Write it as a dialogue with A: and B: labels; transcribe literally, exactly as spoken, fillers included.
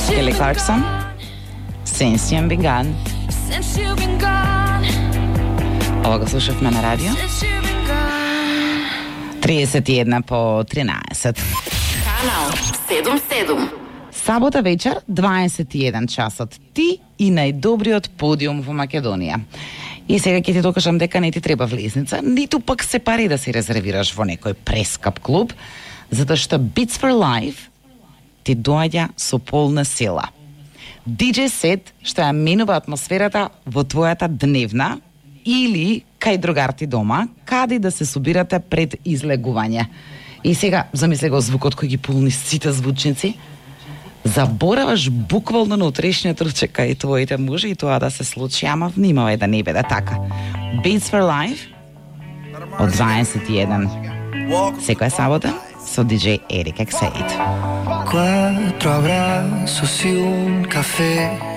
A: Kelly Clarkson, Since You've Been Gone. Ова го слушавме на радио. триесет и една по тринаесет.
B: Канал седум седум.
A: Сабота вечер, дваесет и еден часот. Ти и најдобриот подиум во Македонија. И сега ќе ти докажам дека не ти треба влезница, ниту пак се пари да се резервираш во некој прескап клуб, затоа што Beats for Life ти доаѓа со полна сила. диџеј сет што ја менува атмосферата во твојата дневна или кај другарти дома, каде да се собирате пред излегување. И сега, замисли го звукот кој ги полни сите звучници, забораваш буквално на утрешниот ручек кај твоите мужи и тоа да се случи, ама внимавај да не биде така. Beats for Life од дваесет и еден секоја сабота со диџеј Eric X eight.
C: Cuatro abrazos y un café.